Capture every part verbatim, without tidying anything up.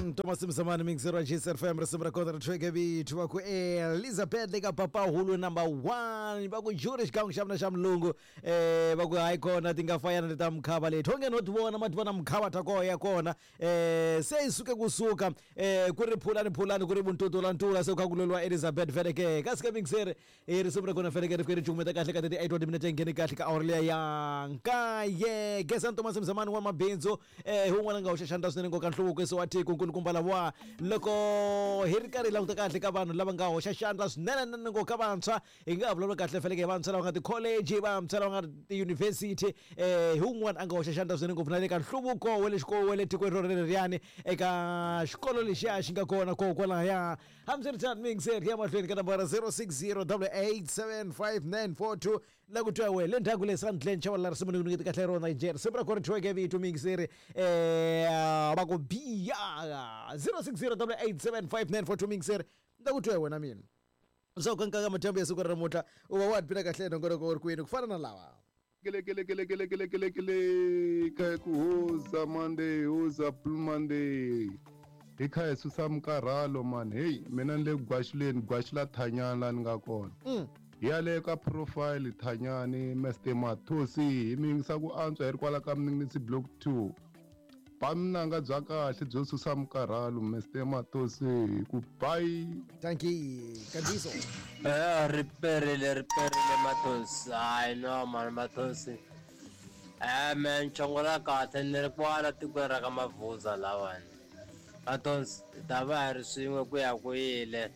Gezani Thomas Mzamani mixer wa G S F M risimu ra kona ri thweke vito va ku Elizabeth le ka Papahulu number one va ku juri xikan'we xa mina xa mulungu eh va ku hayi kona ti nga fayana leta mukhava leti onge no ti vona ma ti vona mukhava ta koho ya kona eh se yi suke kusuka eh ku ri phulani phulani ku ri vuntutula ntula se ku kha ku lweliwa Elizabeth vele ke kasi ke mixer eh risimu ra kona vele ke ri fike ri cukumeta kahle ka thirty-eight wa timinete ngheni kahle ka awara liya ya nkaye. Gezani Thomas Mzamani wa mabindzu eh hi wun'wana nga hoxa xandla swinene ngopfu ka nhluvukiso wa tiko nkulukumba lava loko hi ri karhi hi languta kahle ka vanhu lava nga hoxa xandla swinene nene ngopfu ka vantshwa hi nga vulavula kahle feleke hi vantshwa lava nga ti-college vantshwa lava nga ti-university eh hi wun'wana a nga hoxa xandla swinene ngopfu na le ka nhluvuko wa le xikolo wa le tikweni rero leriyani eka xikolo lexiya xi nga kona kona kwalaya. Hambiswiritano mixer ya mahlweni ka nambara zero six zero double eight seven five nine four two la ku twa we le ndzhaku le Sandland Chavalala risimu ni ku nyiketa kahle rona Nigeria risimu ra kona ri thyiweke vito mixer eh va ku biya zero six zero double eight seven five nine four two mixer la ku twa wena mina swa ku nka madyambu ya siku ra namuntlha u va wa bina kahle nongonoko wu ri kwini ku fana na lawa kele kele kele kele kele kele kele ka ku hoza Monday hoza Blue Monday hi kha hi susa minkarhalo man hey mina ni le gwashuleni gwashula thanyana la ni nga kona hi ya le ka profile thanyani Mister Mathosi hi mi yingisa ku antswa hi ri kwala ka Mninginisi block two ba minanga bya kahle byo susa minkarhalo Mister Mathosi ku bye. Thank you Kandiso. Eh riperile riperile Mathosi hayi no man Mathosi eh man chongola kahle ni ri kwala tikweni ra ka Mavuza lawani Mathosi ta va hi ri swin'we ku ya ku yile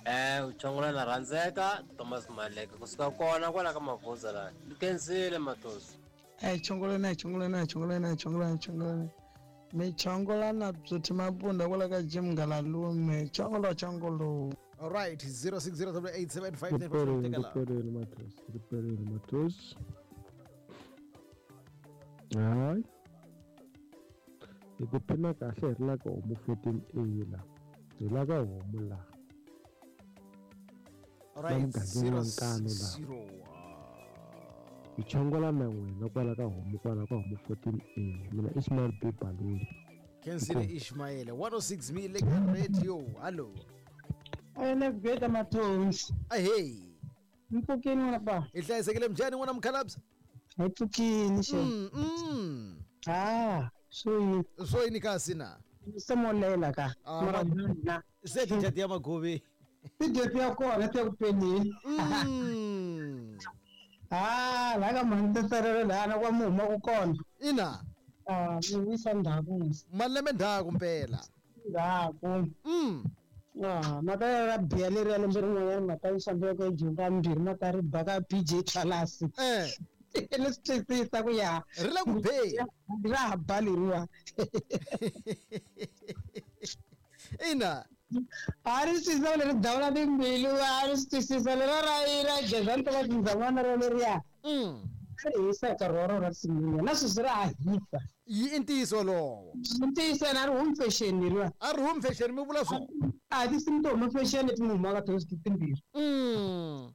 eh uchongola na rhandzeka Thomas Maleke kusuka kona kwala ka Mavuza lani ni khensile Mathosi. Eh chongola na chongola na chongola na chongola na chongola mi chongola na bzuti mabunda kwala ka Jim Ngalalume chongolo chongolo. All right zero six zero double eight seven five nine four two tekela riperile Mathosi riperile Mathosi hayi hi ku phina kahle hi ri la ka homu fourteen A la hi la ka homu la. All right zero zero hi chongola na n'wina kwala ka homu kwala ka homu fourteen A mina Ismail B Baluli Kensile Ishmael one oh six mille radio hello ene geta Mathosi ahey mpfukini n'wana ba hi hlayisekile mjani n'wana mukhalabye hi pfukini xe mm ah swo yini swo yini kasi na se molela ka mara na se ti ya magovi ti ya kona ti ya ku penini ah la ka manteserelo lana kwa muhuma ku kona ina ah mi wisa ndhaku malembe ndzhaku mpela ndzhaku mm ah mata ya biya leri ya lembe rin'wanyana mata yi xambeka ka jumba mbirhi mata ri ba ka B J Tlalasi eh le swi twisisa ku ya ri le ku be ra ha ba leriwa ina a ri twisisa leri dawula timbilu a ri swi twisisa lero ra ra Gezani Thomas Mzamani ra leriya mm ri hisa nkarhi wa rona risimu na sweswi ra ha hisa yi i ntiyiso lowo ntiyiso na ri humi fashion leriwa a ri humi fashion mi vula swona a tinsimu to huma fashion leti mi humaka to timbirhi mm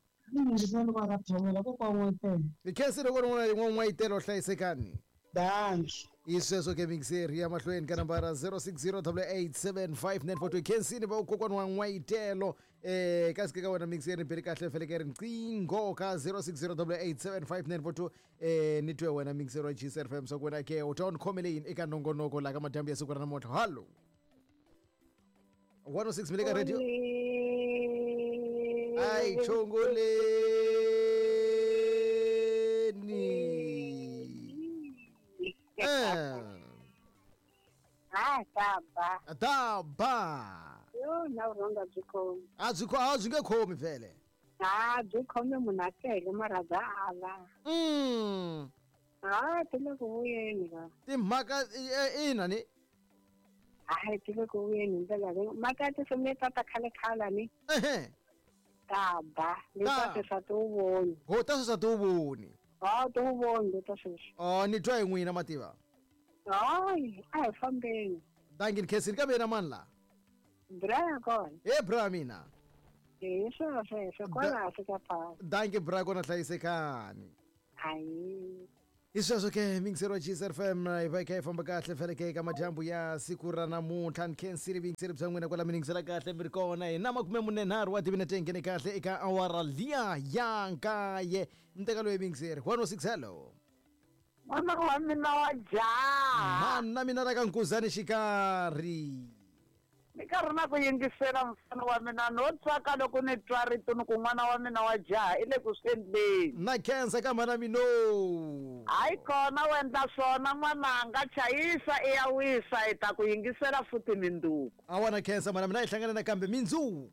hi khensile loko rin'wana n'wayitelo hlayisekani danki hi sweswo ke mixer ya mahlweni ka nambara zero six zero double eight seven five nine four two khensini va kokwana wa n'wayitelo eh kasi ke ka wena mixer ni beli kahle feleke riqingho ka zero six zero double eight seven five nine four two eh ni twe wena mixer wa G S F M swa ku wena ke u ta ni khomele yini eka nongonoko la ka madyambu ya siku ra namuntlha hallo one oh six mile ka radio ai chongoleni eh ah taba taba yo na ronda byi khomi a byi kho a byi nge khomi vhele a byi khomi munhu a tele mara bya ala mm ah ti le ku vuyeni ka timhaka ina ni hayi ti le ku vuyeni hi ndlela leyi mhaka ya tinsimu letiya ta khale khale ni ehe taba leta sweswi a ti wu voni ho ta sweswi a ti wu voni a ti wu voni leta sweswi oh ni twa hi n'wina mativa hayi a hi fambeni danki ni khensini kambe yena mani la bra ya kona he bra mina hi swona sweswo kwala hansi ka pasi danki bra kona hlayisekani hayi. Hi sweswo ke mingiseri wa G S F M, hi va hi kha hi famba kahle feleke eka madyambu ya siku ra namuntlha. Ni khensile vuyingiseri bya n'wina kwala mi yingisela kahle mi ri kona. Hi na makume mune nharhu wa timinete hi nghene kahle eka awara liya ya nkaye. Mteka loyi mingiseri one oh six, hello. N'wana wa mina wa jaha. Mana mina ra ka Nkuzani xikarhi. Ni karhi na ku yingisela, mfana wa mina, no tsaka loko ni twa rito ni ku n'wana wa mina wa jaha i le ku swi endleni. Na khensa ka mhana mino. Hayi kona, u endla swona n'wananga, chayisa i ya wisa, hi ta ku yingisela futhi minduku. A wa na khensa mhana mina, hi hlangana nakambe mindzuku.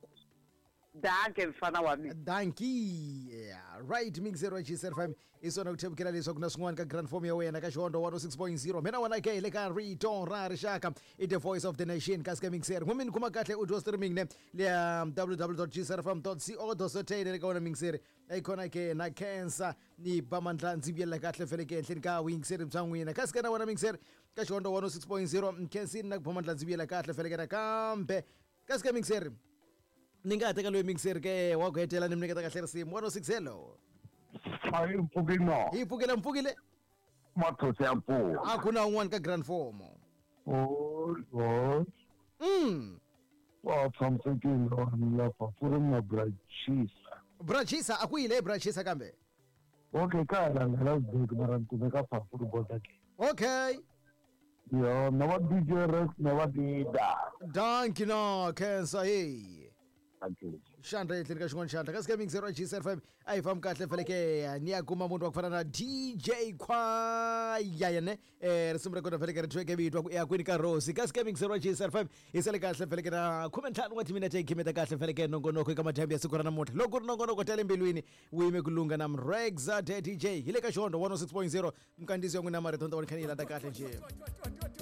Danke, mfana wa mina. Danki. Yeah. Right, mixer wa G S F M, i swona ku thevukela leswaku na swin'wana ka grand form ya wena ka Xihondzo one oh six point zero. Mina wena ke hi le ka rito ra rixaka, i the voice of the nation. Kasi ka mixer n'wini kuma kahle u dya streaming ne leya w w w dot g s f m dot co dot za le ka wona mixer ayikhona ke. Na khensa ni ba mandla ndzi vuyelela kahle fele ke ehenhleni ka vuyingiseri bya n'wina. Kasi ka na wona mixer ka Xihondzo one oh six point zero, nkhensini na ku ba mandla ndzi vuyela kahle fele ke nakambe. Kasi ka mixer ni nga ha teka loyi mixer ke wa ku hetela, ni mi nyiketa kahle risimu. one oh six, hello. A yi mpfuki no. Hi pfukile, mpfukile. Mathosi ya mpfuka. A ku na un'wana ka grand form. O o mm wa tshamisekile wani lapha fu ri na brachisa. Brachisa, a ku yile brachisa kambe. Okay, ka ha langela bek mara ni kumeka phafu ri bota ke. Okay. Yo na va D J Rex na va dida. Danki na khensa hey. Okay. Xandla ehenhleni ka xin'wana xandla kasi ka mixer wa G S F M a hi fambi kahle feleke ni ya kuma munhu wa ku fana na D J Khwaya yene um risimu ra kona feleke ri thweke vitwa ku ya kwini ka Rosi. Kasi ka mixer wa G S F M hi sale kahle feleke na khume ntlhanu wa timinete hi khimeta kahle feleke nongonoko eka madyambu ya siku ra namuntlha. Loko ku ri nongonoko ta le mbilwini wu yime ku lunga na Mrexa de D J hi le ka Xihondzo one oh six point zero. Mkandziso ya n'wina marito ni ta vona kha ni yi landa kahle njhe.